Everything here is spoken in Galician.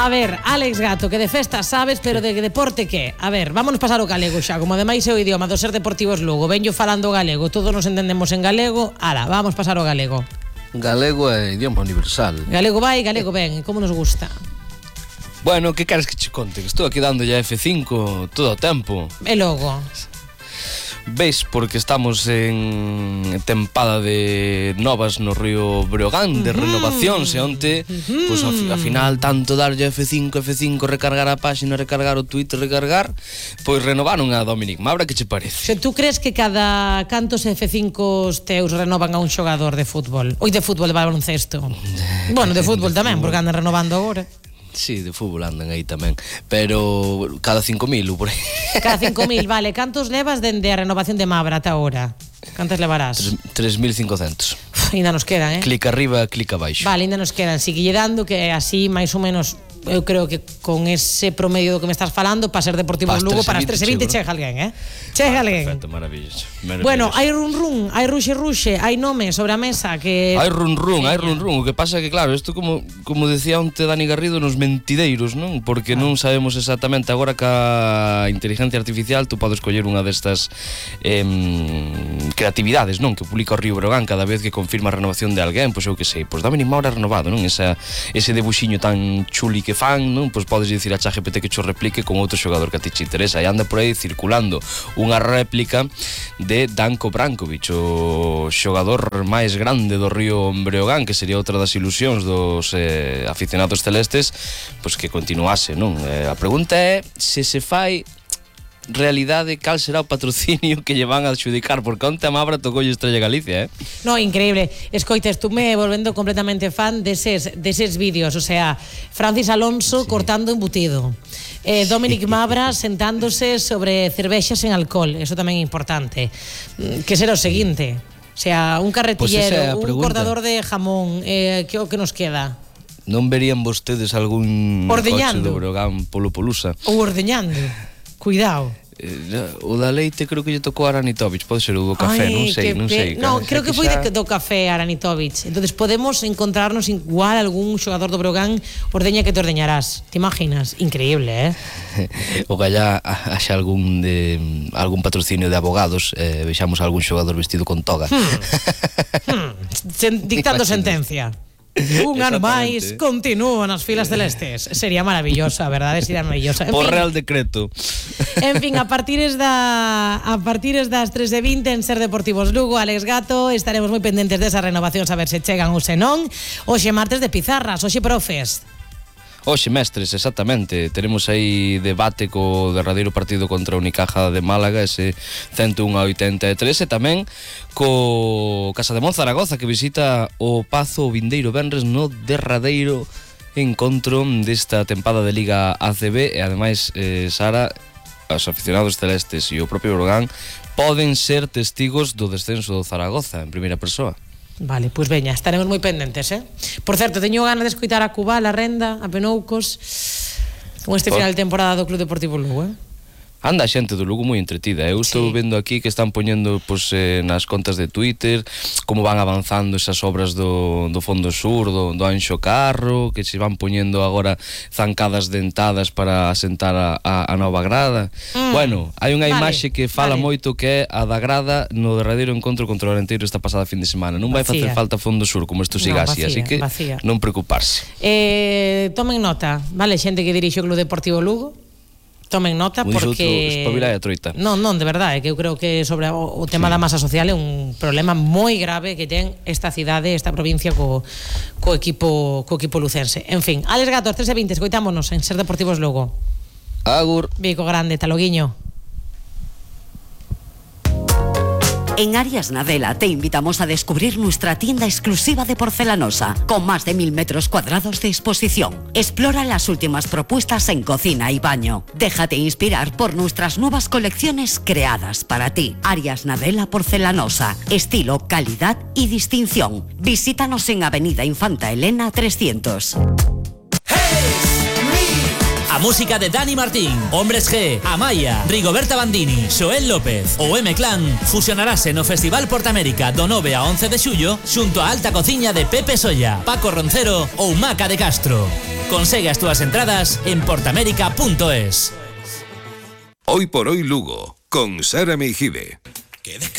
A ver, Alex Gato, que de festa sabes, pero de deporte que? A ver, vámonos pasar o galego xa, como ademais é o idioma do Ser Deportivos Lugo. Venyo falando galego, todos nos entendemos en galego. Ala, vamos pasar o galego. Galego é idioma universal. Galego vai, galego ven, como nos gusta. Bueno, que queres que che conte? Que estou aquí dando ya F5 todo o tempo. E logo? Veis, porque estamos en tempada de novas no Río Breogán, de renovacións, e onte, pois ao final, tanto darlle F5, recargar a páxina, recargar o Twitter, recargar, pois renovaron a Dominic Mabra, que che parece? Se tú crees que cada cantos F5 teus renovan a un xogador de fútbol? Oi, de fútbol, de baloncesto? Bueno, de fútbol tamén, porque andan renovando agora. Sí, de fútbol andan aí tamén, pero cada 5.000 por aí. Cada 5.000, vale. Cantos levas dende a renovación de Mabra ata ahora? Cantos levarás? 3.500. Ainda nos quedan, Clic arriba, clic abaixo. Vale, ainda nos quedan. Sigue dando que así, máis ou menos, eu creo que con ese promedio do que me estás falando, para Ser Deportivos Lugo, para as 3:20 chega alguén, Chega alguén. Perfecto, maravilloso. Bueno, hai run, hai ruxe, hai nome sobre a mesa que... Hai run. O que pasa é que, claro, isto como decía onte Dani Garrido nos mentideiros, non? Porque non sabemos exactamente agora que a inteligencia artificial tú podes coller unha destas creatividades, non? Que publica o Río Breogán cada vez que confirma a renovación de alguén, pois eu que sei, pois Dominic Mabra renovado, non? Ese debuxiño tan chuli que fan, non? Pois podes dicir a ChatGPT que cho replique con outro xogador que a ti te interesa, e anda por aí circulando unha réplica de Danko Brankovic, o xogador máis grande do Río Breogán, que sería outra das ilusións dos aficionados celestes, pois que continuase, non? A pregunta é se fai realidade cal será o patrocinio que lle van a adxudicar, porque onte a Mabra tocou Estrella Galicia, No, increíble. Escoita, estuve volvendo completamente fan deses vídeos, o sea, Francis Alonso cortando embutido, Dominic Mabra sentándose sobre cervexas en alcohol, eso tamén é importante. Que será o seguinte? O sea, un carretillero, un cortador de jamón, que o que nos queda? Non verían vostedes algún ordeñando coche do Breogán polo Polusa? Ou ordeñando, cuidado. O da leite creo que lle tocou a Aranitovic, pode ser o do café, non sei. No, creo que foi do café Aranitovic. Entonces podemos encontrarnos igual algún xogador do Breogán ordeña que te ordeñarás. Te imaginas? Increíble, O gallá haxa algún patrocinio de abogados, vexamos algún xogador vestido con toga. Dictando sentencia. Un ano máis, continúo nas filas celestes. Sería maravilloso, a verdade, sería maravilloso. Por Real Decreto. En fin, a partir das 3:20 en Ser Deportivos Lugo, Alex Gato, estaremos moi pendentes desa renovación, a ver se chegan ou se non. Hoxe martes de pizarras, hoxe profes. Hoxe mestres, exactamente. Teremos aí debate co derradeiro partido contra a Unicaja de Málaga, ese 101-83, e tamén co Casa de Mon Zaragoza, que visita o Pazo o vindeiro venres no derradeiro encontro desta tempada de Liga ACB. E ademais, Sara, os aficionados celestes e o propio Breogán poden ser testigos do descenso do Zaragoza en primeira persoa. Vale, pois veña, estaremos moi pendentes, Por certo, teño ganas de escoitar a Cubal, a Renda, a Penoucos con este final de temporada do Club Deportivo Lugo, Anda a xente do Lugo moi entretida. Eu estou vendo aquí que están poñendo nas contas de Twitter como van avanzando esas obras do Fondo Sur, do Anxo Carro, que se van poñendo agora zancadas dentadas para asentar a nova grada. Bueno, hai unha imaxe que fala moito, que é a da grada no derradeiro encontro contra o Arenteiro esta pasada fin de semana. Non vai facer falta Fondo Sur como isto siga así, así que non preocuparse. Tomen nota, vale, xente que dirixe o Club Deportivo Lugo, tomen nota, porque espabilai a troita. Non, de verdade, que eu creo que sobre o tema da masa social é un problema moi grave que ten esta cidade, esta provincia co equipo lucense. En fin, Alex Gato, 3:20, escoitámonos en Ser Deportivos Lugo. Agur. Vico grande, taloguiño. En Arias Nadela te invitamos a descubrir nuestra tienda exclusiva de porcelanosa, con más de 1000 metros cuadrados de exposición. Explora las últimas propuestas en cocina y baño. Déjate inspirar por nuestras nuevas colecciones creadas para ti. Arias Nadela Porcelanosa, estilo, calidad y distinción. Visítanos en Avenida Infanta Elena 300. música de Dani Martín, Hombres G, Amaya, Rigoberta Bandini, Xoel López ou M-Clan fusionarase no Festival Portamérica do 9 a 11 de xullo xunto a alta cociña de Pepe Solla, Paco Roncero ou Maca de Castro. Consegue as túas entradas en portamérica.es. Hoy por hoy Lugo, con Sara Meijide.